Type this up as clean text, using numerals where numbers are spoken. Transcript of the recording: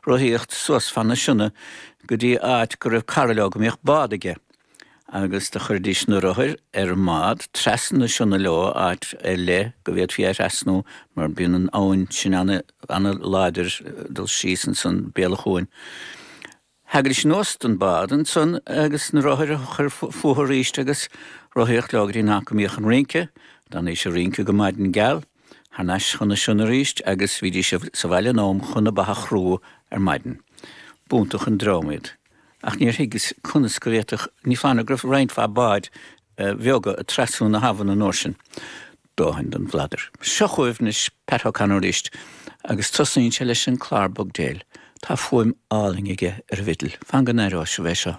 rothaíocht suas fan na Sionna go dtí áit go raibh cara leo go mbíodh bád aige agus do chuiridís na rothair ar an mbád trasna na Sionna leo áit ar leith go bhféadfaí é a thrasnú mar bíonn an abhainn sin ana ana láidir dul síos ansan béal an chuain. Thagaidís anuas don bád ansan agus na rothair a chur fúthu arís agus rothaíocht leo go dtí an áit go mbíodh an rince. D'fhanaidís ag rince go maidin geal, thar n-ais chun na Sionna arís agus bhídís sa bhaile in am chun na ba a chrú ar maidin. B'iontach an dream iad. Ach níor thuigeas conas go bhféadfadh, ní foláir nó go raibh roinnt mhaith báid bheaga ag trasnú na habhann an uair sin. Dóthain den bhladar. Seo chugaibh anois Pat O'Connor arís agus tosnaíonn sé leis an Clár Bogdale. Tá fuaim álainn aige ar an bhfidil. Fan go n-aireoidh sibh é seo.